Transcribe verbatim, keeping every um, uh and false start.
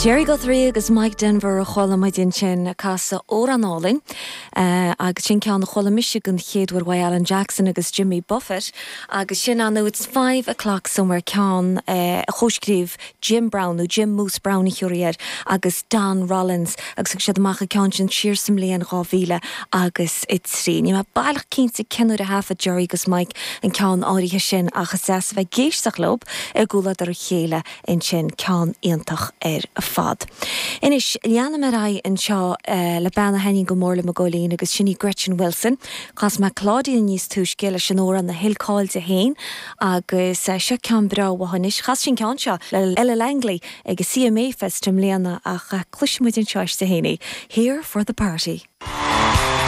Jerry Guthrie agus Mike Denver a chuala muid ansin ag casadh amhrán álainn agus sin ceann a chuala mise den chéad uair uaidh Alan Jackson agus Jimmy Buffett agus sin an It's five o'clock somewhere ceann a chomhscríobh Jim Brown nó Jim Moose Brown a thiúraí air agus Don Rollins agus thug siad amach an ceann sin siar sa mbliain dhá mhíle agus a trí. Níl mé baileach cinnte cén uair a thaifead Jerry agus Mike an ceann áirithe sin ach is deas a bheith ag éisteacht leo i gcomhluadar a chéile ansin ceann iontach ar fad. Anois leanaim ar aghaidh anseo le bean a thaitníonn go mór liom i gcónaí agus sin í Gretchen Wilson. Chas mé Claudia níos túisce leis an amhrán a thuill cáil di féin agus seo ceann breá uaithi anois. Chas sí an ceann seo le Ella Langley ag a CMA Fest i mbliana ach cloisfidh muid anseo aisti féin í. Here for the party.